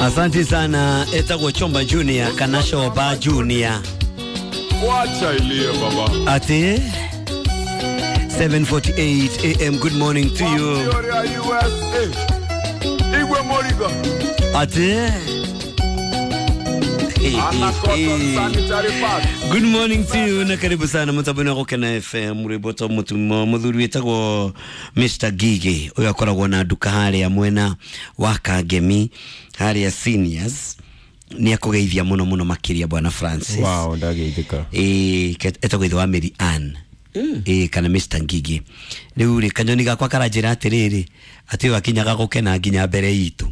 Asante sana etagwo Chomba Junior kana Shoba Junior. Wacha ilie baba. Ati 7:48 am. Good morning to you. Gloria USA. Igwe Moriga. Ati Ana cotton sanitary pads. Good morning to you na karibu sana mutaboni wa Gukena FM rwimbo mutumo muthuri witagwo Mr Gigi uyu akoragwo na nduka haria mwena wa Kangemi haria seniors ni akugeithia muno muno makiria bwana Francis. Wow, ndageithĩka. Etagwo ithe wa Mary Ann kana Mr Ngigi. Riu ri kanyoni gakwa karanjira atiriri ati uyu akinyaga gukena nginya mbere itu.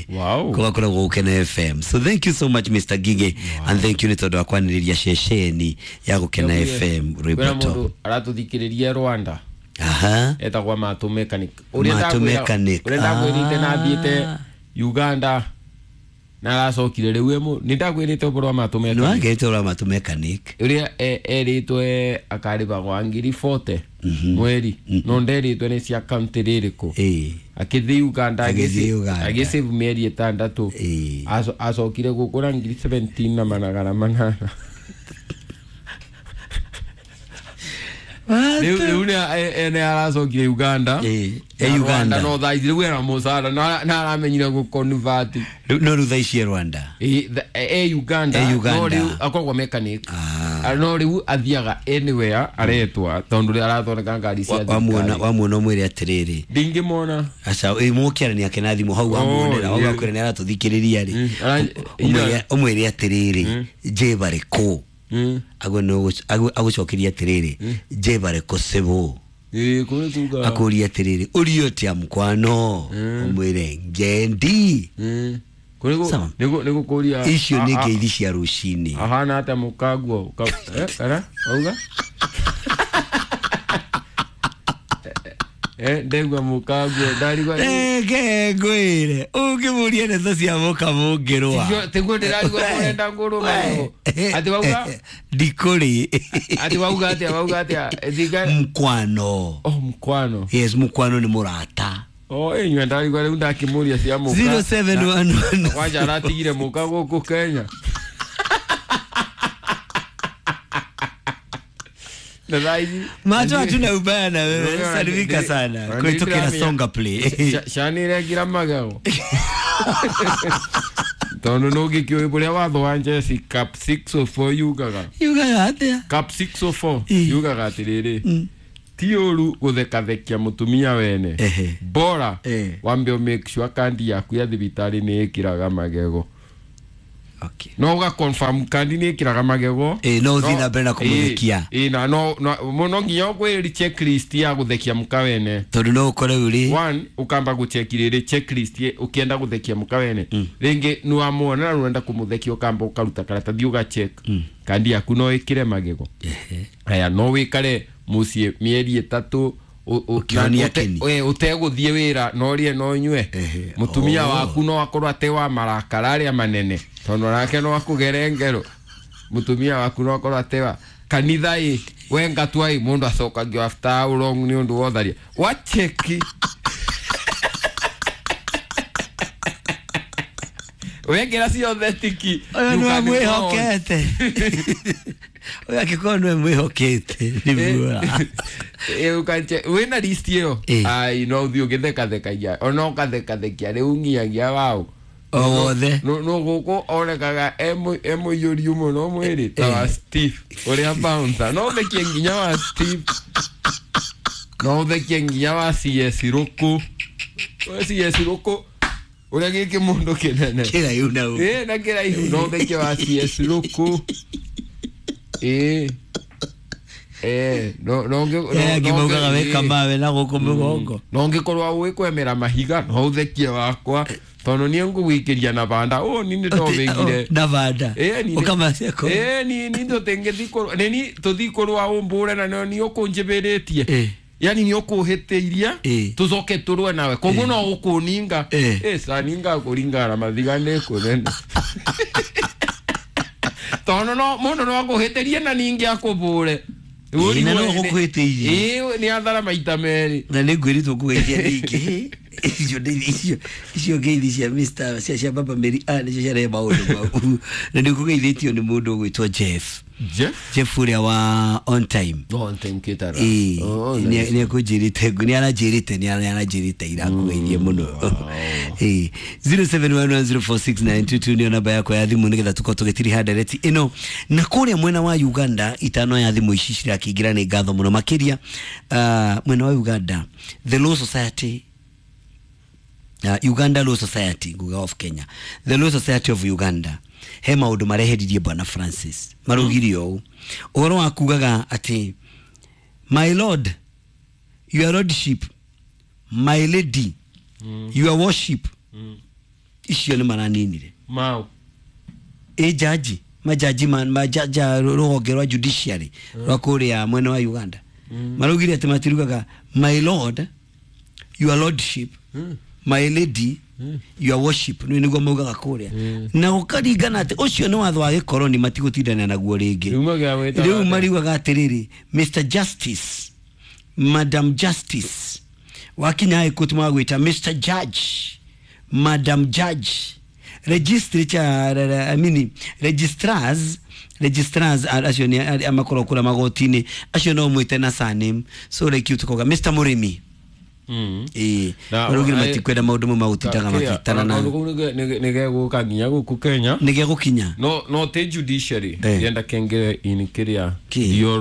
Wow. Kugakoragwo Gukena FM. So thank you so much Mr Gige. Wow. And thank you nĩ tondũ wa kwanĩrĩria ceceni ya Gukena FM rwĩmbo Kwĩna to. mũndũ aratũthikĩrĩria Rwanda. Aha. Etagwa Matũ Mechanic. Matũ Mechanic. Ũrĩa ndakwĩrĩte na thiĩte Uganda na aracokire rĩu ĩmũ nĩ ndakwĩrĩte ũhoro wa Matũ Nĩ Mechanic. wagĩrĩte ũhoro wa Matũ Mechanic. Ũrĩa erĩtwe akarĩhagwa 40,000 mweri no nderĩtwe nĩ cia kaunti rĩrĩkũ. Akĩthiĩ Uganda Agĩthiĩ Uganda. agĩsave mĩeri 6 acokire gũkũ na 17,800. Rĩu nĩ aracokire Uganda. E Uganda. No thaa ici rĩu ena mũcara na aramenyire gũconvert. No rĩu thaa ici e Rwanda. E Uganda. E Uganda. No rĩu akoragwo mechanic. No rĩu athiaga anywhere aretwa tondũ rĩu arathondeka ngari cia thirikari. Wamuona ũmwĩre atĩrĩrĩ. Ndingĩmwona. Aca mũkĩarania ake na thimũ hau wamuonera hau akwĩra nĩ aratũthikĩrĩria rĩ. Ũmwĩre atĩrĩrĩ njebare kũ. Agũcokeria atĩrĩrĩ njebare kũ civũ. Akũria atĩrĩrĩ ũrio tia mkwano ũmwĩre ngendi. Nĩgũkũria icio nĩ ngeithi cia rũcinĩ. Ahana atĩa mũkaguo kana auga ndegwa mũkaguo ndarigwa reke ngwĩre ũngĩmũria ndeto cia mũkamũngĩrwa tiguo ndĩrarigwo ũrenda ngũrũma atĩ wauga ndikũrĩ atĩ wauga atĩa wauga atĩa mkwano. Oh, mkwano. Yes, mkwano nĩ mũrata. Oh, inyuĩ ndarigwa rĩu ndakĩmũria cia mũka 0711 kwanja aratigire mũka gũkũ Kenya. Macho hatuna ubaya na wewe, salimika sana kuitokera Songa Play. Shaniregira magego tondu nũngĩkĩũĩ bũrĩa watho wa Jesse Cap 604 yugaga. Yugaga atĩa? Cap 604 yugaga atĩrĩrĩ ti ũru gũthekathekia mũtumia wene bora wambe make sure kandi yaku ya thibitarĩ nĩ ĩkĩraga magego. Okay. No uga confirm kandi nĩ ĩkĩraga magego. No ũthiĩ na mbere na kũmũthekia. Na no no nginya ũkwĩrĩ checklist ya gũthekia mũka wene. Tondũ no ũkore ũrĩ one ukamba gũcheki rĩrĩ checklist ũkĩenda gũthekia mũka wene. Rĩngĩ nĩ wamuona na ũrenda kũmũthekia ũkamba ũkaruta karatathi ũgacheck kandi yaku no ĩkĩre magego. Aya no wĩkare mũciĩ mĩeri 3 ũtegũthiĩ wĩra no ũrĩe no ũnyue. Mũtumia waku no akorwo ate wa marakara arĩa manene tondũ nake no akũgere ngero. Mũtumia waku no akorwo ate wa kanitha ĩ we ngatua ĩ mũndũ acokagio after how long nĩ ũndũ wa ũtharia wacheki wekĩra ciothe tiki. Ũyũ nĩwe mwĩhokete. Ũyũ angĩkorwo nĩwe mwĩhokete nĩ wĩna list ĩyo ai no ũthiĩ ũgĩthekathekagia ona ũkathekathekia rĩu nginyagia wao o wothe no gũkũ onekaga e mũiyũriu mũno mwĩrĩ ta wa Steve ũrĩa bouncer no ũthekie nginya wa Steve no ũthekie nginya wa CS Rũkũ CS Rũkũ ũrĩa gĩkĩ mũndũ kĩnene kĩraihu na na kĩraihu no ũthekie wa CS Rũkũ no ngimaugaga weka mawe na gũkũ mũgongo no ngĩkorwo ũĩ kwemera mahiga no ũthekie wakwa tondũ niĩ ngũgwikĩria na banda ni nĩ ndobĩngire na banda ũkamacia ni tũtingĩthi tũthi kũrũa ũmbũre na nĩ ũkũnjĩbĩrĩtie yani nĩ ũkũhĩtĩirie tũcoke tũrũe nawe koguo no ũkũninga saninga kũringana na mathiga nĩ kũnene tondũ no mũndũ no akũhĩtĩrie na ningĩ akũbũre na no gũkũhĩtĩirie nĩ athara maita merĩ na nĩ ngwĩrĩtwo ngũgeithia ningĩ. Icio icio ngeithi cia Mr cia baba Mary Ann nicio ciarehe maũndũ mau, na nĩ ũkũgeithĩtio nĩ mũndũ ũgwĩtwo Jeff. Jeff. Jeff ũrĩa wa on time. On time kitara. Ĩĩ, Oh, nice. nĩ akũnjĩrĩte, nĩ aranjĩrĩte, nĩ aranjĩrĩte irakũgeithie mũno. Ĩĩ, 0711046922 nĩyo namba yakwa ya thimũ nĩgetha tũkorwo tũgĩtiriha ndereti ĩno na kũrĩa mwena wa Uganda. Itano ya thimũ ici cirakĩingĩra, nĩ ngatho mũno makĩria. Mwena wa Uganda, the Law Society, Uganda Law Society, nguga of Kenya, the Law Society of Uganda, he maũndũ mareheririe bwana Francis. Marugire ũũ, ũhoro wa kugaga atĩ "my lord", "your lordship", "my lady", "your worship", icio nĩ maraninire. Mau. Ĩ jaji, majaji, majaja rũhonge rwa judiciary rwa kũrĩa mwena wa Uganda maraugire atĩ matirugaga "my lord", "your lordship", "my lady", "your worship". Nĩ nĩguo maugaga kũrĩa, na gũkaringana atĩ ũcio nĩ watho wa gĩkoroni, matigũtindania naguo rĩngĩ. Rĩu magĩa gwĩtaga Rĩu atĩa? mariugaga atĩrĩrĩ, "Mr Justice", "Madam Justice". Wakinya high court magwĩta "Mr Judge", "Madam Judge". Registrature, I mean, registrars acio nĩ arĩa makoragwo kũrĩa magoti-inĩ, acio no mwĩte na surname, so like you tukoga Mr Mũrĩmi. Ĩĩ. Na- Maraugire matikwenda maũndũ mau magũtindaga makĩtana na Kaũndũ kau nĩ gegũka nginya gũkũ Kenya. Nĩ gegũkinya. No ti judiciary. Eh. Yenda kengere in kiria. Kĩ? Bureau.